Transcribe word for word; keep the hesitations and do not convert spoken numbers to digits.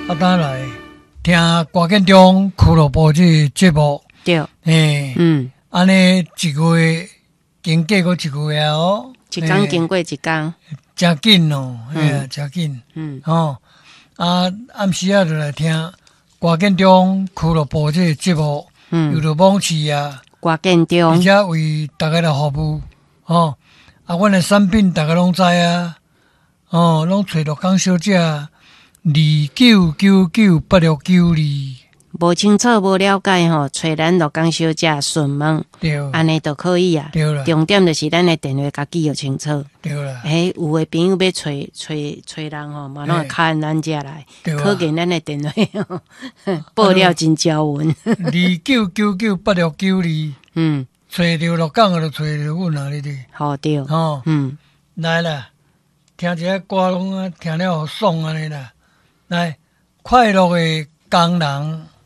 啊，當來聽歌建中俱樂部這个節目，對，嘿，嗯，按呢一個月經過閣一個月哦，一工經過一工，誠緊哦，嘿啊，誠緊，嗯，吼，啊，暗時仔就來聽歌建中俱樂部這個節目，嗯，由著網市啊，歌建中，而且為大家來服務，吼，啊，阮的產品大家攏知啊，哦，攏揣鹿港小姐二九九九八六九二，無清楚無了解吼，揣咱鹿港小姐詢問，對，按呢就可以啊。對啦，重點就是咱的電話共記予清楚。對啦，欸，有的朋友欲揣揣揣人吼，嘛攏會敲咱遮來，對啊可見咱的電話報料真招穩。二九九九八六九二，嗯，揣著鹿港就揣著阮啊，你哋，好對，吼，嗯，來啦，聽一下歌攏啊，聽了予爽按呢啦。來，快樂的工人。